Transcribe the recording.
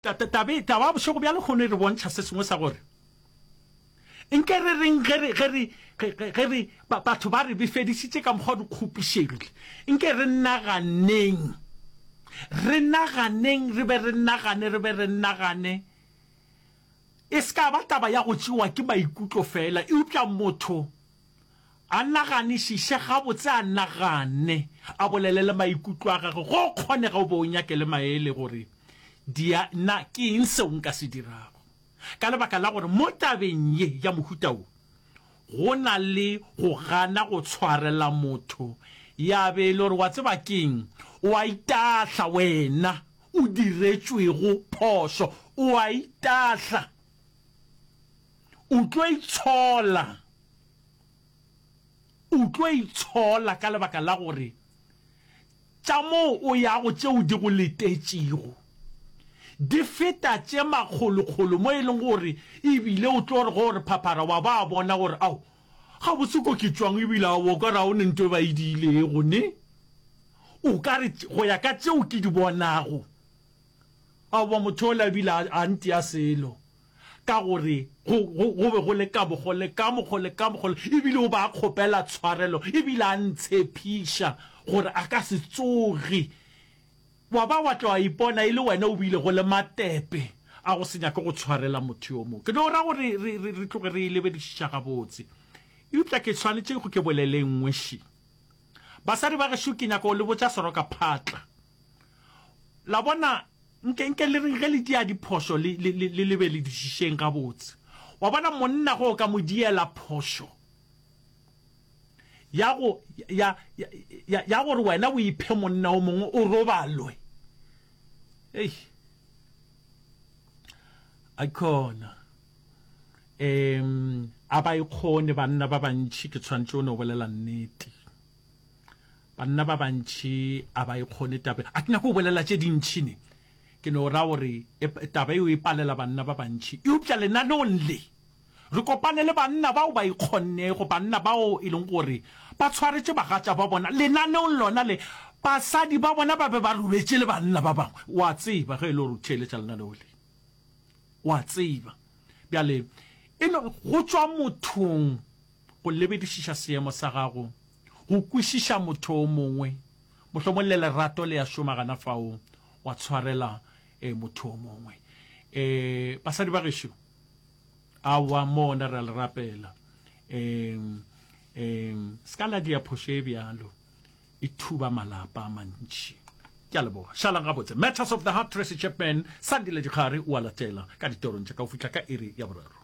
Tabe, taba ya bošego bja lehono e re bontšha se sengwe sa gore nke re reng ge re, ge re, ge, ge re, ba, batho ba re befedišitše ka mokgwa re kgopišegile. Nke re naganeng, re naganeng, re be re nagane, re be re nagane. E se ka ba taba ya go tšewa ke maikutlo feela, eupša motho A naganišiše gabotse, a nagane, a bolele le maikutlo a gagwe, go kgonega o be o nyake le maele gore dia na ke eng seo nka se dirago. Ka lebaka la gore mo tabeng ye ya mohuta wo, go na le go gana go tshwarela motho, ya be e le gore wa tseba keng, o a itahla wena o diretšwego phošo, o a itahla, o tlo itshola. O tlo itshola ka lebaka la gore tša moo o yago tšeo di go letetšego di feta tše makgolokgolo mo e leng gore e bile o tlo re ge o re phaphara wa ba bona gore ao, gabotse ko ke tšwang e bile aowa o ka re ga o ne nto e ba e diilego ne. O ka re go ya ka tšeo ke di bonago aowa motho ola e bile a ntia selo. ka gore go, go, go be go le ka mokgo le ka mokgo le ka mokgo, e bile o ba a kgopela tshwarelo, e bile a ntshepiša gore a ka se tsoge. Wa ba wa tla wa ipona e le wena o bilego le matepe a go se nyake go tshwarela motho yo mongwe. Ke no ra gore re, re, re tloge re e lebedišiša gabotse. Eupša ke swanetše go ke bolele e nngwe še. Basadi ba gešo, ke nyaka go le botša seroka phatla. La bona, Nke, nke le reng ge le dia diphošo, le, le, le, le lebeledišišeng gabotse. Wa bona, monna ge o ka mo diela phošo ya go, ya, ya, ya, ya gore wena o iphe monna o mongwe o robalwe. Ei. Aikhona. Um, a ba ikgone banna ba bantši, ke tshwanetše o no bolela nnete. Banna ba bantši a ba e kgone taba. A ke nyake go bolela tše dintši ne. Ke no ra gore e, taba eo e palela banna ba bantši. Eupša lenaneong le, re kopane le banna bao ba ikgonnego, banna bao e leng gore ba tshwaretše bagatša ba bona. Lenaneong lona le, basadi ba bona ba be ba robetše le banna ba bangwe. O a tseba ge e le gore o theeletša lenaneo le. O a tseba. Bjale, e no, go tšwa mothong go lebedišiša seemo sa gago, go kwešiša motho o mongwe, mohlomong le lerato le a šoma gana fao, wa tshwarela e, motho o mongwe. E, basadi ba gešo, aowa, mona re a le rapela. E, e, se ka la dia phošo e bjalo, e thuba malapa a mantši. Ke a leboga. Šalang gabotse. Matters of the Heart, Tracy Chapman, Sandile Dikgare o a latela ka ditorong tša ka go fihla ka iri ya boraro.